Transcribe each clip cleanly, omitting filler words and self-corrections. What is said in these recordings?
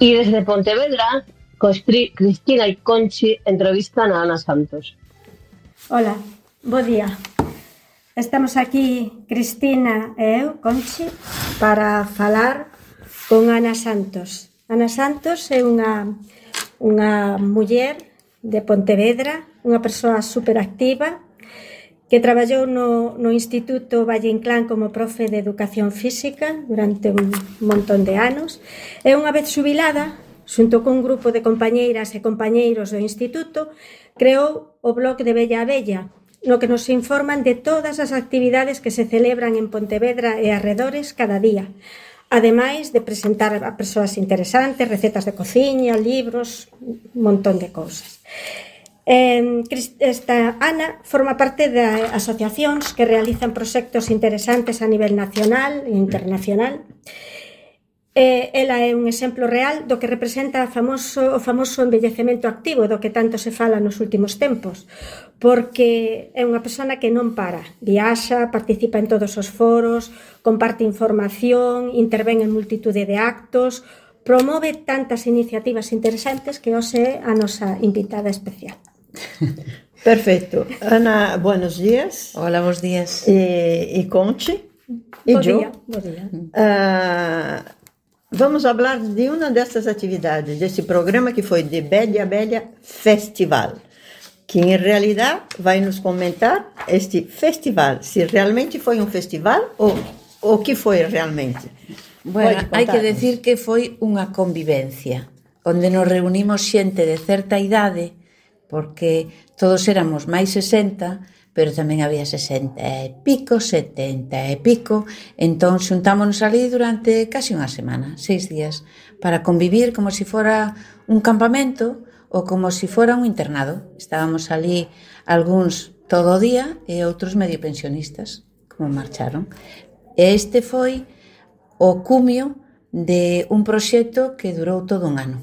Y desde Pontevedra, Cristina y Conchi entrevistan a Ana Santos. Hola, bo día. Estamos aquí, Cristina e eu, Conchi, para falar con Ana Santos. Ana Santos é unha muller de Pontevedra, unha persoa superactiva, que traballou no Instituto Valle Inclán como profe de Educación Física durante un montón de anos, e unha vez xubilada, xunto cun grupo de compañeiras e compañeiros do Instituto, creou o blog de Bella a Bella, no que nos informan de todas as actividades que se celebran en Pontevedra e arredores cada día, ademais de presentar a persoas interesantes, recetas de cociña, libros, un montón de cousas. Esta Ana forma parte de asociacións que realizan proxectos interesantes a nivel nacional e internacional. Ela é un exemplo real do que representa o famoso envellecemento activo do que tanto se fala nos últimos tempos, porque é unha persona que non para, viaxa, participa en todos os foros, comparte información, intervén en multitude de actos, promove tantas iniciativas interesantes que hoxe é a nosa invitada especial. Perfecto. Ana, buenos días. Hola, buenos días. Y Conchi. Y yo. Bo día. Vamos falar de uma dessas atividades, desse programa que foi de Bella a Bella Festival, que em realidade vai nos comentar este festival, se realmente foi um festival ou o que foi realmente. Bueno, hai que decir que foi unha convivencia, onde nos reunimos xente de certa idade, porque todos éramos máis 60, pero tamén había 60 e pico, 70 e pico, entón xuntámonos ali durante casi unha semana, 6 días, para convivir como se fora un campamento ou como se fora un internado. Estábamos ali algúns todo o día e outros medio pensionistas, como marcharon. E este foi o cumio de un proxecto que durou todo un ano.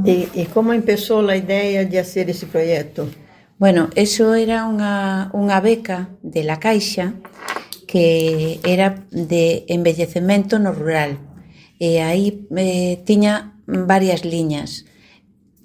E como empezou a ideia de fazer esse projeto? Bueno, eso era unha beca de la Caixa que era de envellecemento no rural. E aí tiña varias liñas.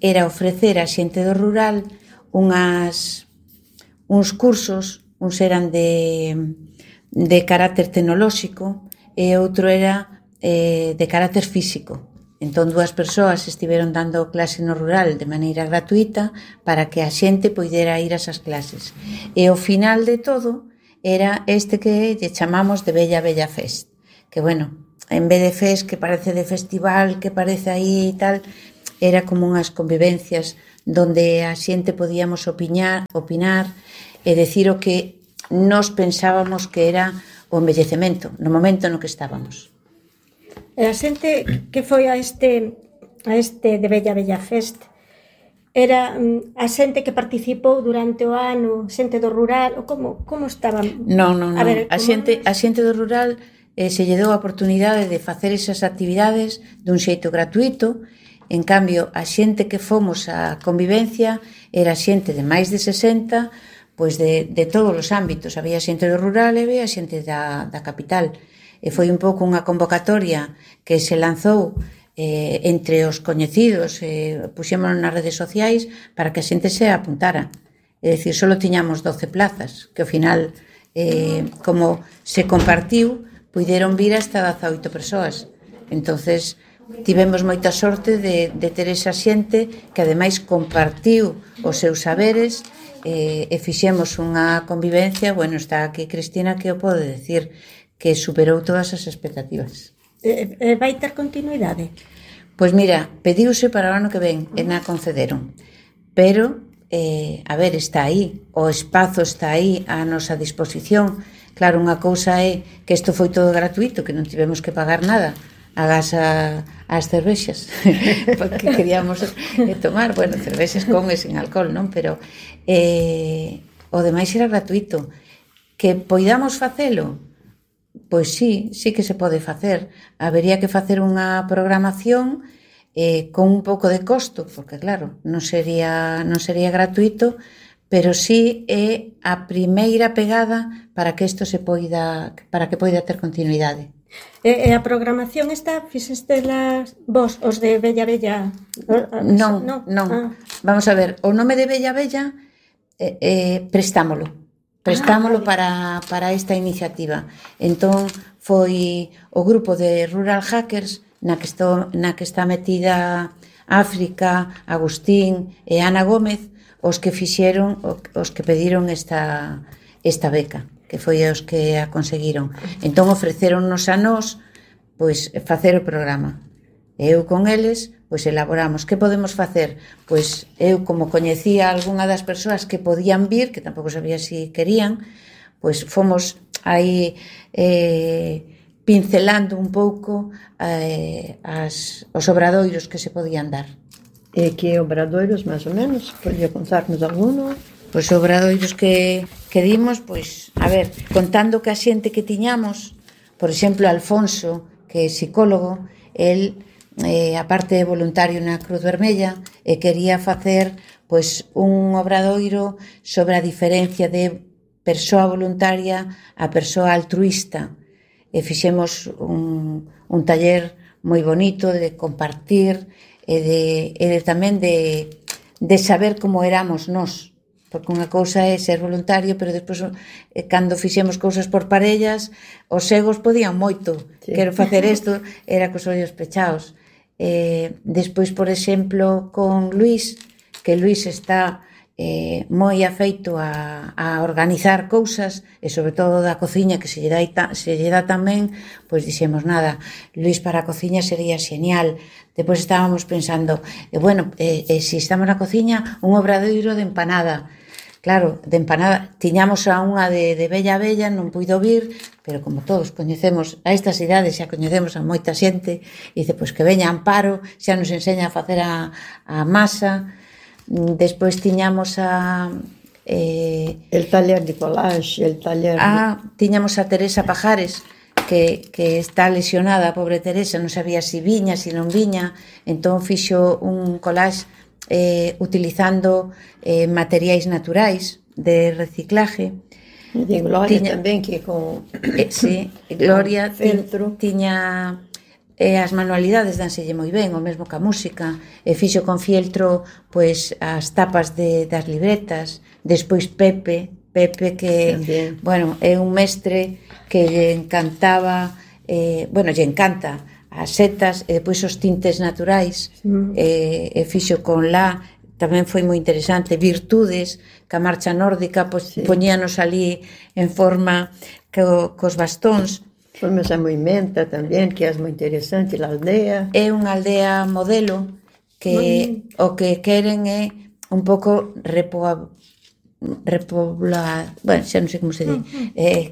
Era ofrecer a xente do rural uns cursos, uns eran de carácter tecnolóxico e outro era de carácter físico. Entón, 2 persoas estiveron dando clase no rural de maneira gratuita para que a xente poidera ir a esas clases. E o final de todo era este que lle chamamos de Bella Bella Fest. Que, bueno, en vez de fest que parece de festival, que parece aí e tal, era como unhas convivencias donde a xente podíamos opinar e decir o que nós pensábamos que era o envellecemento no momento no que estábamos. E a xente que foi a este de Bella Bella Fest era a xente que participou durante o ano, xente do rural, ou como estaban? Non. A xente do rural se lle deu a oportunidade de facer esas actividades dun xeito gratuito. En cambio, a xente que fomos á convivencia era xente de máis de 60, pois de todos os ámbitos. Había xente do rural e había xente da capital. E foi un pouco unha convocatoria que se lanzou entre os coñecidos, puxémonos nas redes sociais para que a xente se apuntara. É dicir, só tiñamos 12 plazas, que ao final, como se compartiu, puideron vir hasta 18 persoas. Entonces, tivemos moita sorte de ter esa xente que ademais compartiu os seus saberes e fixemos unha convivencia. Bueno, está aquí Cristina que o pode decir, que superou todas as expectativas. Vai ter continuidade? Pois mira, pediuse para o ano que ven e na concederon, pero a ver, está aí, o espazo está aí a nosa disposición. Claro, unha cousa é que isto foi todo gratuito, que non tivemos que pagar nada agás as cervexas porque queríamos tomar, bueno, cervexas con e sin alcohol, non? Pero o demais era gratuito. Que poidamos facelo? Pois sí que se pode facer. Habería que facer unha programación con un pouco de costo, porque claro, non sería gratuito, pero sí é a primeira pegada para que isto para que poida ter continuidade. E a programación esta, fixeste vos, os de Bella Bella? Non. Vamos a ver, o nome de Bella Bella prestámolo para esta iniciativa. Entón foi o grupo de Rural Hackers na que está metida África, Agustín e Ana Gómez os que pediron esta beca, que foi os que a conseguiron. Entón ofreceronnos a nós pois facer o programa. Eu con eles pois elaboramos. Que podemos facer? Pois eu, como coñecía algunha das persoas que podían vir, que tampouco sabía si querían, pois fomos aí pincelando un pouco os obradoiros que se podían dar. E que obradoiros, máis ou menos? Podía contarnos alguno? Pois obradoiros que dimos, pois, a ver, contando que a xente que tiñamos, por exemplo, Alfonso, que é psicólogo, el, aparte de voluntario na Cruz Vermella, quería facer pois un obradoiro sobre a diferencia de persoa voluntaria a persoa altruista. E fixemos un taller moi bonito de compartir e tamén de saber como éramos nós, porque unha cousa é ser voluntario, pero despois cando fixemos cousas por parellas os egos podían moito, sí. Quero facer isto, era cos ollos pechados. Despois, por exemplo, con Luís, que Luís está moi afeito a organizar cousas e sobre todo da cociña, que se lle dá tamén, pois dixemos nada, Luís para a cociña sería xenial. Depois estábamos pensando, se estamos na cociña, un obradoiro de empanada. Claro, de empanada tiñamos a unha de Bella Bella, non puido vir, pero como todos coñecemos a estas idades, xa coñecemos a moita xente, e dice, pois que veña Amparo, xa nos enseña a facer a masa. Despois tiñamos el taller de collage, el taller tiñamos a Teresa Pajares, que está lesionada, a pobre Teresa, non sabía si viña, si non viña, entón fixo un collage utilizando materiais naturais de reciclaje. E de Gloria tamén, que con sí, Gloria tiña as manualidades danselle moi ben, o mesmo que a música, e fixo con fieltro pois as tapas das libretas. Despois Pepe que también. Bueno, é un mestre que lle encantaba, lle encanta as setas e depois os tintes naturais, e fixo con tamén foi moi interesante, virtudes, que a marcha nórdica pois, sí. Poñíanos ali en forma cos bastóns. Formas a movimenta tamén, que é moi interesante, a aldea. É unha aldea modelo que o que queren é un pouco repoblar, xa non sei como se di,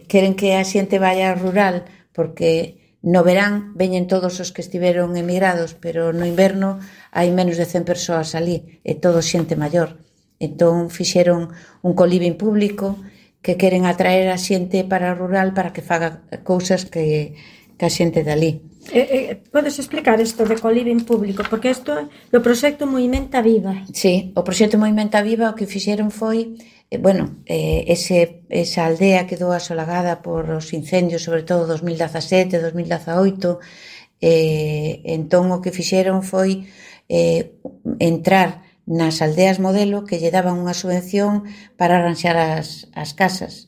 queren que a xente vaya rural, porque no verán veñen todos os que estiveron emigrados, pero no inverno hai menos de 100 persoas ali, e todo xente maior. Entón fixeron un coliving público que queren atraer a xente para o rural para que faga cousas que a xente dali. Podes explicar isto de coliving público? Porque isto é o proxecto Movimenta Viva. Sí, o proxecto Movimenta Viva o que fixeron foi, esa aldea quedou asolagada por os incendios, sobre todo 2017, 2018, entón o que fixeron foi entrar nas aldeas modelo que lle daban unha subvención para arranxar as casas.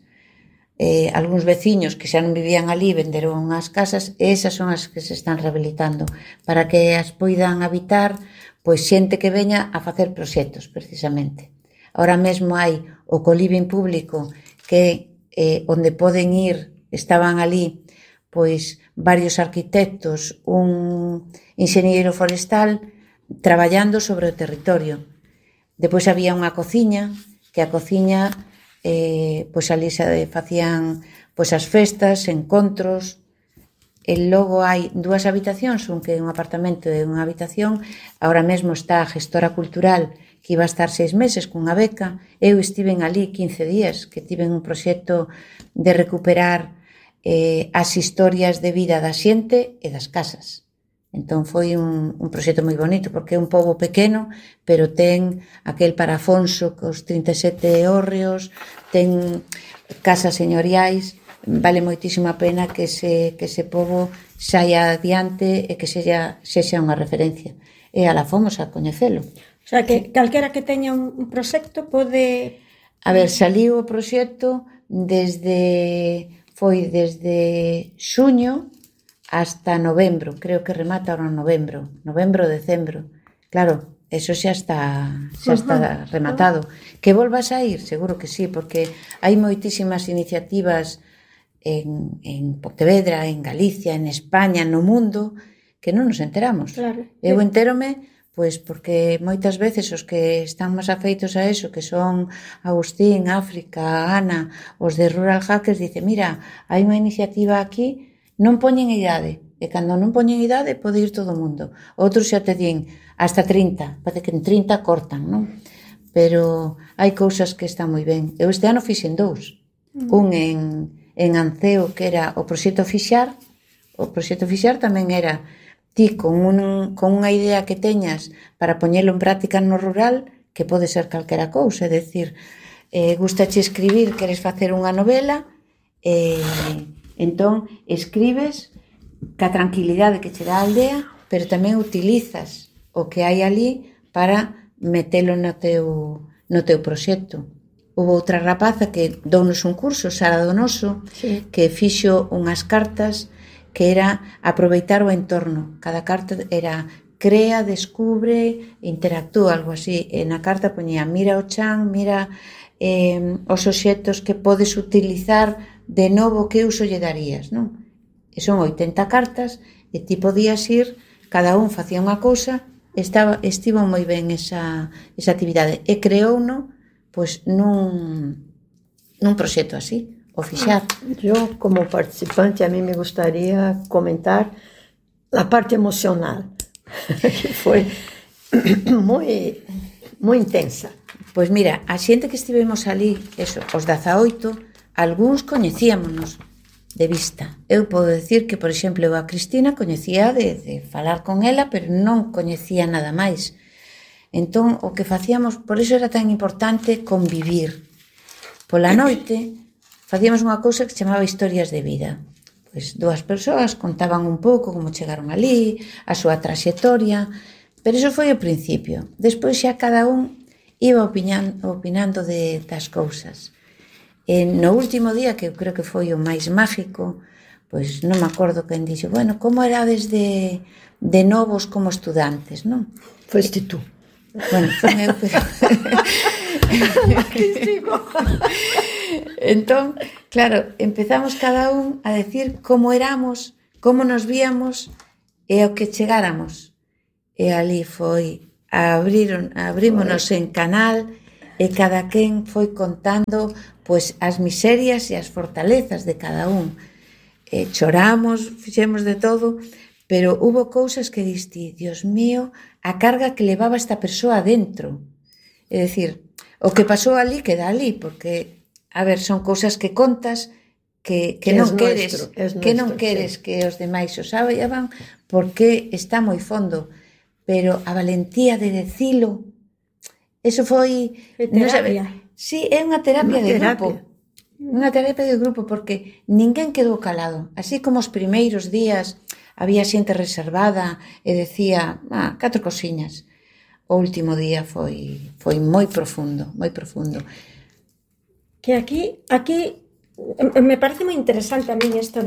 Algúns veciños que xa non vivían ali venderon as casas e esas son as que se están rehabilitando para que as poidan habitar pois xente que veña a facer proxectos, precisamente. Ahora mesmo hai o coliving público que onde poden ir, estaban ali pois varios arquitectos, un enxeñeiro forestal traballando sobre o territorio. Depois había unha cociña, que a cociña pois ali se facían pois as festas, encontros, e logo hai 2 habitacións, un que é un apartamento e unha habitación. Ahora mesmo está a gestora cultural que iba a estar 6 meses cunha beca. Eu estiven ali 15 días, que tiven un proxecto de recuperar as historias de vida da xente e das casas. Entón foi un proxecto moi bonito, porque é un pobo pequeno, pero ten aquel parafonso cos 37 hórreos, ten casas señoriais, vale moitísimo a pena que ese pobo saia adiante e que sexa unha referencia. E ala fomos a coñecelo. O sea, que calquera que teña un proxecto pode... A ver, saliu o proxecto desde xuño hasta novembro, creo que remata ahora en novembro, decembro. Claro, eso xa está rematado. Que volvas a ir? Seguro que sí, porque hai moitísimas iniciativas en Pontevedra, en Galicia, en España, no mundo, que non nos enteramos. Claro. Eu entérome, pois, porque moitas veces os que están máis afeitos a eso, que son Agustín, África, Ana, os de Rural Hackers, dice, mira, hai unha iniciativa aquí, non poñen idade, e cando non poñen idade pode ir todo o mundo. Outros xa te din hasta 30, parece que en 30 cortan, non? Pero hai cousas que están moi ben. Eu este ano fixen 2. Un en Anceo, que era o proxecto Fixar. O proxecto Fixar tamén era ti con unha idea que teñas para poñelo en práctica no rural, que pode ser calquera cousa, é dicir, gustache escribir, queres facer unha novela, entón escribes ca tranquilidade que che dá a aldea, pero tamén utilizas o que hai ali para metelo no teu proxecto. Houve outra rapaza que dounos un curso, Sara Donoso, sí, que fixo unhas cartas que era aproveitar o entorno. Cada carta era crea, descubre, interactúa, algo así. E na carta poñía, mira o chan, mira os obxectos que podes utilizar de novo, que uso lle darías, non? E son 80 cartas e ti podías ir, cada un facía unha cousa, estivo moi ben esa actividade. E creouno, pois, nun proxecto así. O Fixar. Yo, como participante, a mí me gustaría comentar la parte emocional, que foi moi intensa. Pois mira, a xente que estivemos ali, eso, os 18, algúns coñecíamonos de vista. Eu podo decir que, por exemplo, eu a Cristina coñecía de falar con ela, pero non coñecía nada máis. Entón, o que facíamos, por iso era tan importante convivir. Pola noite facíamos unha cousa que se chamaba historias de vida. Pois 2 persoas contaban un pouco como chegaron ali, a súa traxectoria, pero iso foi o principio. Despois xa cada un iba opinando das cousas. E no último día, que eu creo que foi o máis mágico, pois non me acordo quen dixo, bueno, como erades de novos como estudantes, non? Foste tú. Bueno, foi eu, pero... Entón, claro, empezamos cada un a decir como éramos, como nos víamos e ao que chegáramos. E ali foi, abrímonos en canal e cada quen foi contando pois as miserias e as fortalezas de cada un. Choramos, fixemos de todo, pero hubo cousas que diste, Dios mío, a carga que levaba esta persoa dentro. É dicir, o que pasou ali queda ali, porque, a ver, son cousas que contas que non queres, que non queres que os demais o saiban, porque está moi fondo, pero a valentía de decilo, eso foi... Terapia. Sí, é unha terapia de grupo. Unha terapia de grupo, porque ninguén quedou calado. Así como os primeiros días había xente reservada e decía, 4 cosiñas. O último día foi moi profundo, moi profundo. Que aquí me parece moi interesante a min isto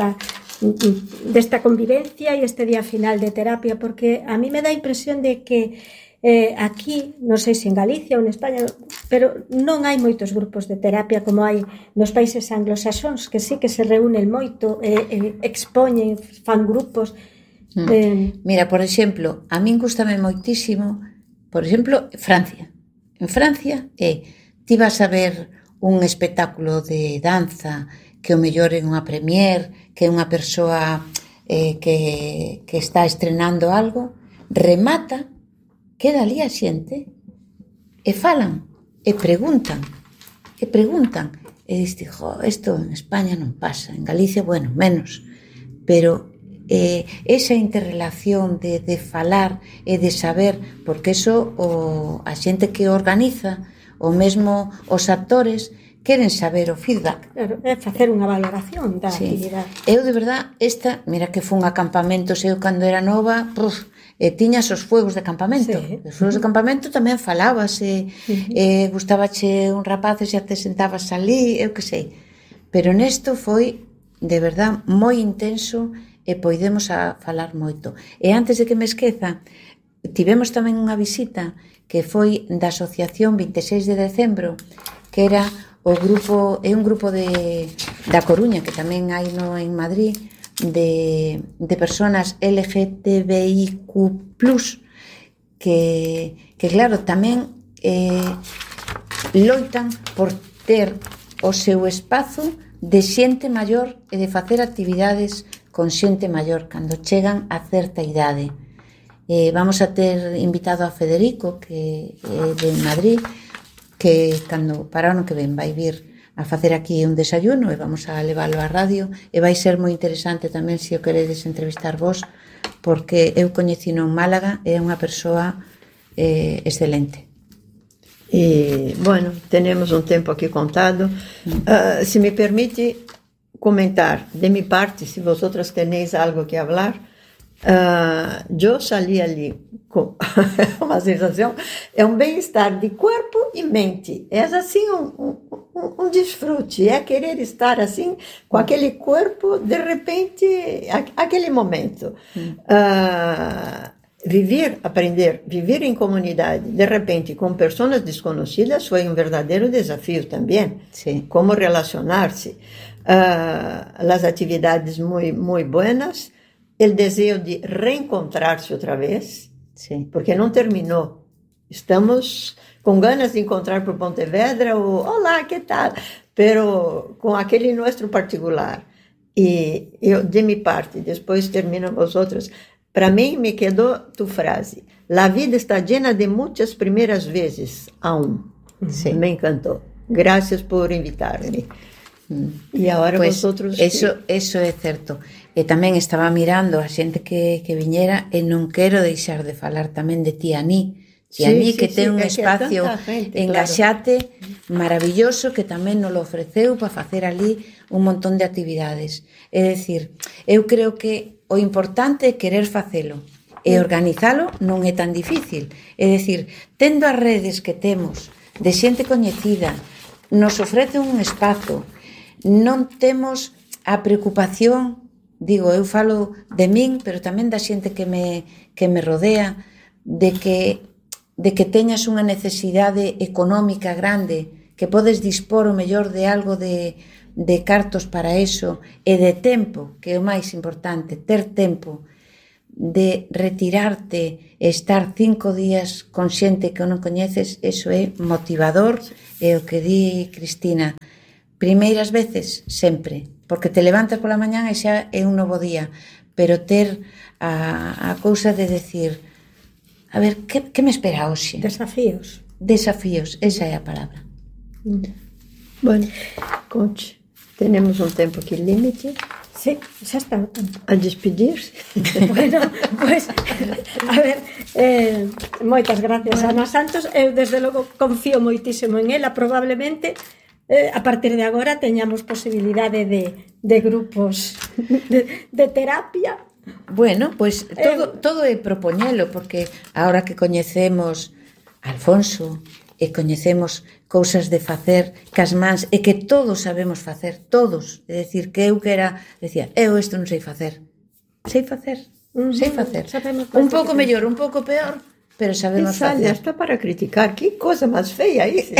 desta convivencia e este día final de terapia, porque a mí me dá a impresión de que aquí, non sei se en Galicia ou en España, pero non hai moitos grupos de terapia como hai nos países anglosaxóns, que sí que se reúnen moito, expoñen, fan grupos. Mira, por exemplo, a min gustame moitísimo, por exemplo, Francia. En Francia, ti vas a ver un espectáculo de danza que o mellor é unha premier, que é unha persoa que está estrenando algo, remata, queda ali a xente e falan, e preguntan, e diste, isto en España non pasa, en Galicia, bueno, menos, pero esa interrelación de falar e de saber, porque eso a xente que organiza, o mesmo os actores, queren saber o feedback. Claro, é facer unha valoración da actividade. Eu, de verdad, mira que fun a campamentos, eu cando era nova, tiñas os fuegos de campamento. Os fuegos de campamento tamén falabas, gustabache un rapaz e xa te sentabas ali, eu que sei. Pero nesto foi, de verdad, moi intenso e poidemos a falar moito. E antes de que me esqueza, tivemos tamén unha visita que foi da Asociación 26 de Decembro, que era o grupo, é un grupo da Coruña, que tamén hai en Madrid, de personas LGTBIQ+, que claro, tamén loitan por ter o seu espazo de xente maior e de facer actividades con xente maior cando chegan a certa idade. Vamos a ter invitado a Federico, que é de Madrid, que cando para o ano que ven vai vir a facer aquí un desayuno e vamos a leválo á radio e vai ser moi interesante tamén se o queredes entrevistar vos, porque eu coñecino en Málaga e é unha persoa excelente. E, bueno, tenemos un tempo aquí contado. Se me permite comentar de mi parte, se vosotras tenéis algo que hablar, yo salí ali com uma sensação, é um bem-estar de corpo e mente, é assim um desfrute, é querer estar assim com aquele corpo de repente, aquele momento. Aprender, viver em comunidade, de repente, com pessoas desconhecidas, foi um verdadeiro desafio também. Sim. Como relacionar-se. As atividades muito buenas, o desejo de reencontrar-se outra vez, sí, porque não terminou. Estamos com ganas de encontrar por Pontevedra o olá, que tal? Pero com aquele nosso particular. E eu, de minha parte, depois terminam vosotros, para mim me quedou tu frase. La vida está llena de muitas primeiras vezes aún. Sí. Me encantou. Gracias por invitar-me. E agora pues vosotros... Eso é certo. E tamén estaba mirando a xente que viñera e non quero deixar de falar tamén de ti, Aní. Ti, Aní, que ten un espacio en Gaxate maravilloso que tamén nos lo ofreceu para facer ali un montón de actividades. É dicir, eu creo que o importante é querer facelo e organizalo non é tan difícil. É dicir, tendo as redes que temos de xente coñecida, nos ofrece un espazo, non temos a preocupación, digo, eu falo de min, pero tamén da xente que me rodea, de que teñas unha necesidade económica grande, que podes dispor o mellor de algo de cartos para eso, e de tempo, que é o máis importante, ter tempo de retirarte e estar 5 días con xente que non coñeces, eso é motivador, e o que di Cristina, primeiras veces, sempre, porque te levantas pola mañán e xa é un novo día, pero ter a cousa de decir, a ver, que me espera hoxe? Desafíos. Desafíos, esa é a palabra. Bueno, Conchi, tenemos un tempo aquí límite. Sí, xa está o tempo. A despedir-se. Bueno, pues, a ver, moitas gracias a Ana Santos. Eu, desde logo, confío moitísimo en ela. Probablemente, a partir de agora, teñamos posibilidade de grupos de terapia. Bueno, pues todo é propoñelo, porque ahora que coñecemos a Alfonso e coñecemos cousas de facer cas mans e que todos sabemos facer, todos, é dicir, que eu que era, decía, eu isto non sei facer, sei facer, un pouco mellor, un pouco peor, pero sabemos facer. Está para criticar, que cosa máis feia isso.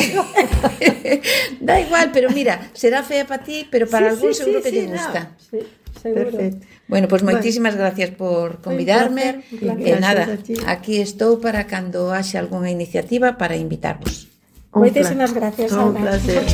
Da igual, pero mira, será fea para ti, pero para algún seguro que lle gusta. Sí, seguro. Perfecto. Bueno, pues moitísimas gracias por convidarme. Un placer. E nada, aquí estou para cando haxe algunha iniciativa para invitarvos. Moitísimas gracias, Ana. Un placer.